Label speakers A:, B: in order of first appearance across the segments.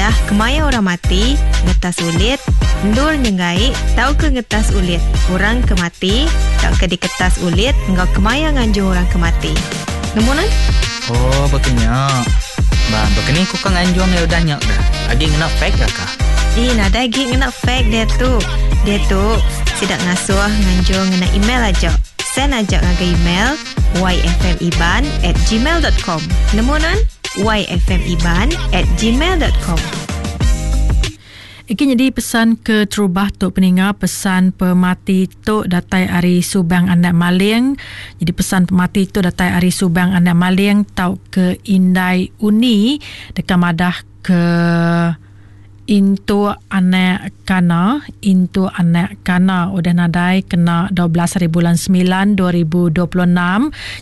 A: madah kemaya orang mati, ngetas ulit, endur nyenggai tauka ngetas ulit orang ke mati tauka diketas ulit enggau kemaya nganjung orang ke mati. Nemu nuan?
B: Oh, baka nya. Ba, baka ni ku ka nganjung iya udah nya ga? Agi ngena fax ga kah?
A: Ih, nadai agi ngena fax diatu. Diatu, sida ngasuh nganjung ngena email aja. Send aja ngagai email yfmiban at gmail dot com. Nemu nuan? yfmiban at gmail dot com.
C: Iki nyadi pesan ke terubah tu peninga pesan pemati tu datai ari Subang Anak Maling. Jadi pesan pemati tu datai ari Subang Anak Maling tau ke Indai Uni deka madah ke Intu anak Kana, Intu anak Kana udah nadai kena 12 hari bulan 9 2026.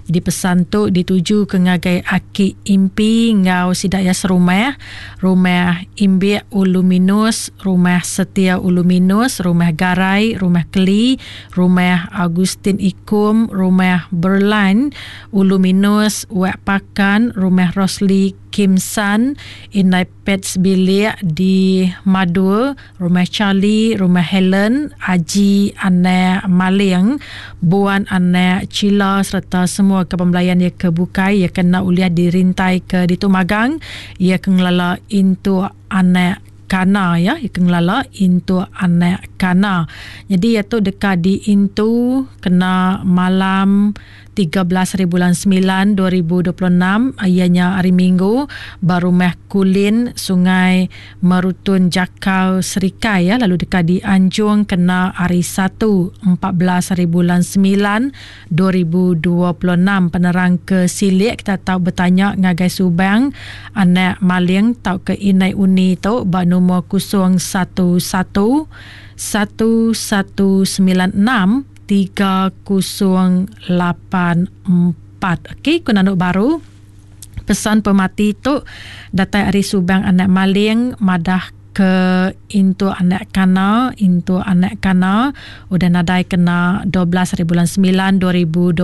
C: Jadi pesan tu dituju ke ngagai aki Impi enggau sida iya serumah, Rumah Imbik Ulu Minus, Rumah Setia Ulu Minus, Rumah Garai, Rumah Keli, Rumah Augustine Ikum, Rumah Berline Ulu Minus, Wak Pakan, Rumah Rosli Kim San, Indai Pets Bilik di Madur, Rumah Charlie, Rumah Helen, Aji Anak Maling, Buan Anak Chila sereta semua kaban belayan iya ke bukai iya ke enda ulih dirintai ke ditu magang iya ke ngelala intu anak Kana ya iya ke ngelala intu anak Kana. Nyadi iya tu deka diintu kena malam 13 hari bulan 9 2026 iya nya hari Minggu ba Rumah Kulin Sungai Merutun Jakal Serikai ya lalu deka dianjung kena hari Satu 14 hari bulan 9 2026. Penerang ke silik kita tau betanya ngagai Subang anak Maling tauka Indai Uni tu ba numur 011 1196 3084. Okey, ku nandu baru. Pesan pemati tu datai ari Subang anak Maling madah ke intu anak Kana, intu anak Kana udah nadai kena 12 hari bulan 9 2026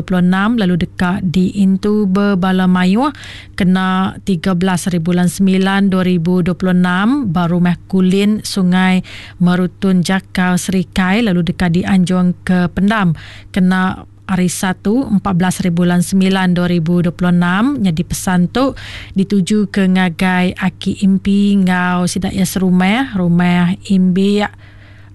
C: lalu deka diintu bebala mayuh kena 13 hari bulan 9 2026 ba Rumah Kulin Sungai Merutun Jakar Serikai lalu deka dianjung ke pendam kena hari Satu, 14 hari bulan 9 2026. Nyadi pesan tu dituju ke ngagai Aki Impi enggau sida iya serumah, Rumah Imbik,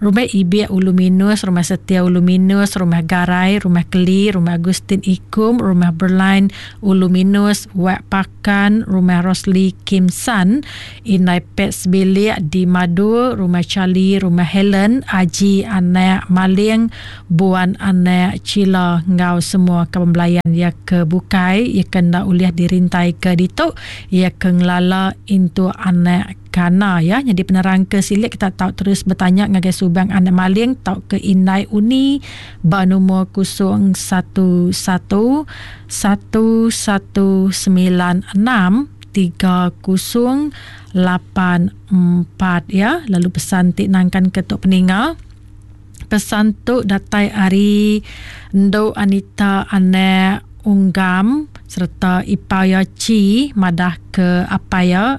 C: Rumah Ibik Ulu Minus, Rumah Setia Ulu Minus, Rumah Garai, Rumah Keli, Rumah Agustin Ikum, Rumah Berline Ulu Minus, Wak Pakan, Rumah Rosli Kim San, Indai Pet sebilik di Madu, Rumah Charlie, Rumah Helen, Aji anak Maling, Buan anak Chila enggau semua kaban belayan iya ke bukai iya ke enda ulih dirintai ke ditu iya ke ngelala intu anak Kana ya nyadi penerang ke silik kita tau terus betanya ngagai Subang anak Maling tauka Indai Uni ba numur 011 1196 3084 ya lalu pesan ti nangkan ke tu peninga pesan tu datai ari Endu Anita anak Unggam sereta ipar iya Chi madah ke apai iya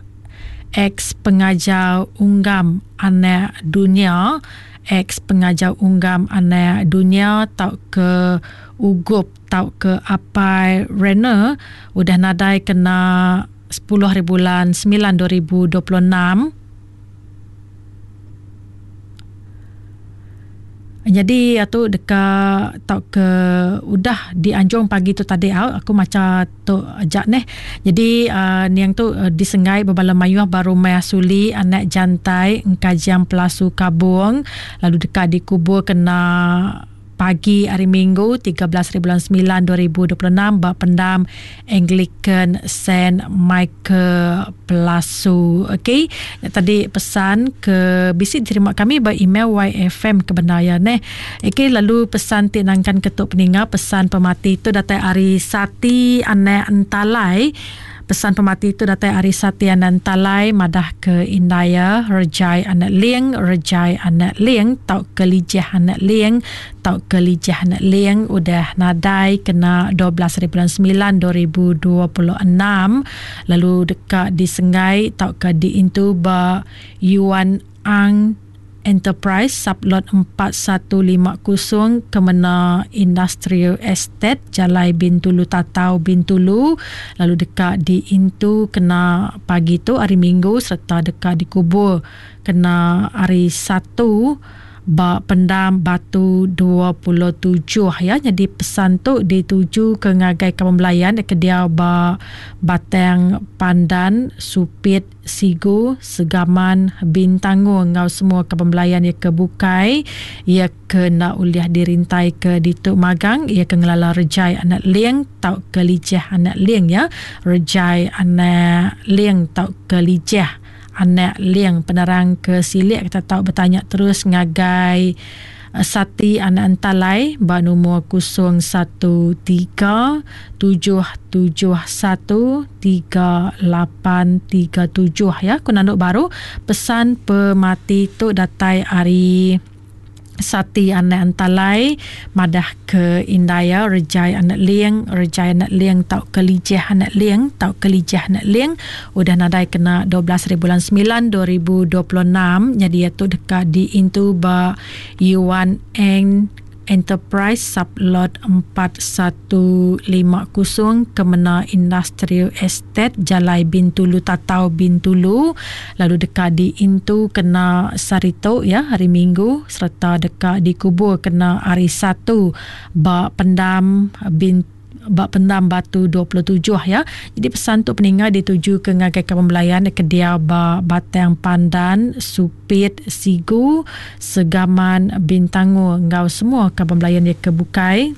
C: ex pengajar Unggam anak Dunya ex pengajar Unggam anak Dunya tauka Ugup tauka apai Renner udah nadai kena 10 haribulan 9 2026. Nyadi tu deka tauka udah dianjung pagi tu tadi au aku macha tu aja neh. Nyadi uh, niang tu uh, disenggai bebala mayuh ba rumah Suli anak Jantai Engkajang Pelasu Kabung lalu deka dikubur kena pagi hari Minggu 13 hari bulan 9 2026 ba pendam Anglican Saint Michael Pelasu. Okey, tadi pesan ke bisi diterima kami ba email YFM ke bendar ya neh. Okey, lalu pesan ti nangkan ke tu peninga pesan pemati tu datai ari Sati Anak Entalai. Pesan pemati tu datai ari Satya Nantalai madah ke indai iya Rejai anak Ling, Rejai anak Ling tauka Lijah anak Ling tauka Lijah anak Ling udah nadai kena 12 hari bulan 9 2026 lalu deka disenggai tauka diintu ba Yuan Ang Enterprise Sublot 4150 Kemena Industrial Estate Jalai Bintulu Tatau Bintulu lalu deka diintu kena pagi tu hari Minggu sereta deka dikubur kena hari Satu ba Pendam Batu 27 ya. Nyadi pesan tu dituju ke ngagai kaban belayan ke diau ba Batang Pandan Supit Sigu, Segaman, Bintangor enggau semua kaban belayan iya ke bukai. Iya ke enda ulih dirintai ke ditu magang iya ke ngelala Rejai anak Ling tauka Lijah anak Ling ya. Rejai anak Ling tauka Lijah anak Ling. Penerang ke silik kita tau betanya terus ngagai Sati anak Entalai ba numur 013 771 3837 ya. Ku nandu baru pesan pemati tu datai ari Sati anak Entalai madah ke indai iya Rejai anak Ling, Rejai anak Ling tauka Lijah anak Ling tauka Lijah anak Ling udah nadai kena 12 hari bulan 9 2026 nyadi iya tu deka diintu ba Yuan Eng Enterprise Sublot 4150 Kemena Industrial Estate Jalai Bintulu Tatau Bintulu lalu deka diintu kena sehari tu ya hari Minggu sereta deka dikubur kena hari Satu ba Pendam Bintulu ba Pendam Batu 27 ya. Jadi pesan tu peninga dituju ke ngagai kaban belayan ke diau ba Batang Pandan, Supit, Sigu, Segaman, Bintangor enggau semua kaban belayan iya ke bukai.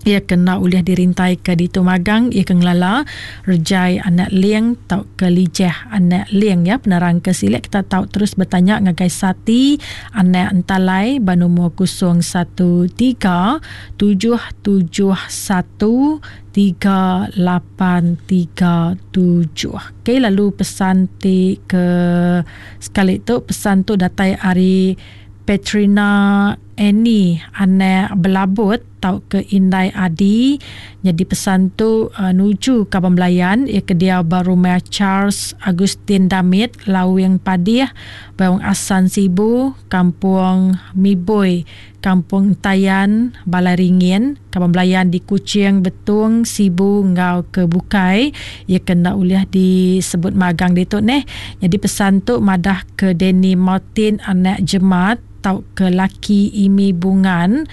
C: Iya ke enda ulih dirintai ke ditu magang iya ke ngelala Rejai anak Ling tauka Lijah anak Ling ya. Penerang ke silik kita tau terus betanya ngagai Sati anak Entalai ba nombor 013 771 3837. Okey, lalu pesan ti ke sekali tu, pesan tu datai ari Petrina Annie anak Belabut tauka Indai Adi. Nyadi pesan tu uh, nuju kaban belayan ia ke diau ba rumah Charles Agustin Damit, Lawing Padih, Bawang Asan Sibu, Kampung Mibui, Kampung Entayan, Balai Ringin, kaban belayan di Kuching, Betong, Sibu enggau ke bukai. Iya ke enda ulih disebut magang ditu neh. Nyadi pesan tu madah ke Danny Martin anak Jemat tauka laki Imi Bungan.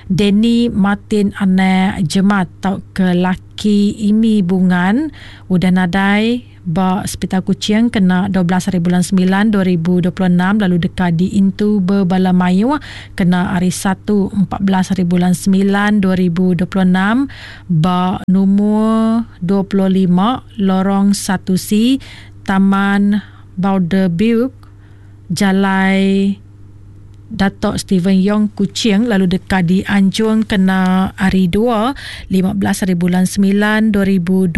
C: Danny Martin anak Jemat tauka laki Imi Bungan udah nadai ba Sepital Kuching kena 12 hari bulan 9 2026 lalu deka diintu bebala mayuh kena hari Satu 14 hari bulan 9 2026 ba numur 25 Lorong 1C Taman Boulder Jalai Dato Stephen Yong Kuching lalu deka dianjung kena hari Dua, 15 hari bulan 9 2026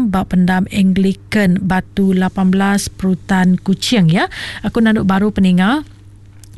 C: ba Pendam Anglican Batu 18 Perutan Kuching ya. Aku nandu baru peninga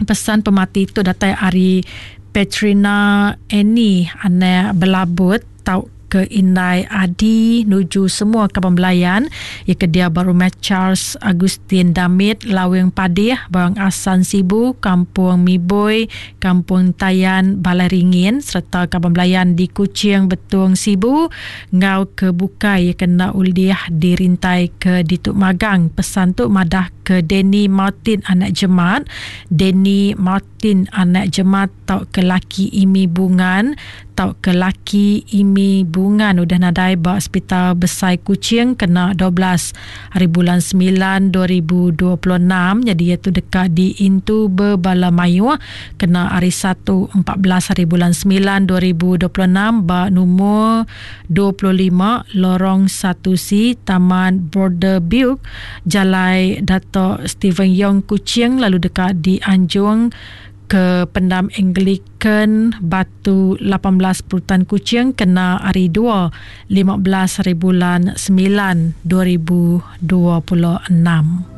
C: pesan pemati tu datai ari Petrina Annie anak Belabut tau ke indai Adi nuju semua kaban belayan iya ke diau ba rumah Charles Agustin Damit Lawing Padih Bawang Asan Sibu Kampung Miboi Kampung Tayan Balai Ringin sereta kaban belayan di Kuching Betong Sibu enggau ke bukai iya ke enda ulih dirintai ke ditu magang. Pesan tu madah ke Danny Martin anak Jemat Danny Martin anak Jemat tauka laki Imi Bungan tauka laki Imi Bungan udah nadai ba Sepital Besai Kuching kena 12 hari bulan 9 2026 nyadi iya tu deka diintu bebala mayuh kena hari Satu 14 hari bulan 9 2026 ba numur 25 Lorong 1C Taman Border Buick Jalai Dato Stephen Yong Kuching lalu deka dianjung. ke Pendam Anglican Batu 18 Perutan Kuching kena hari 2 15 hari bulan 9 2026.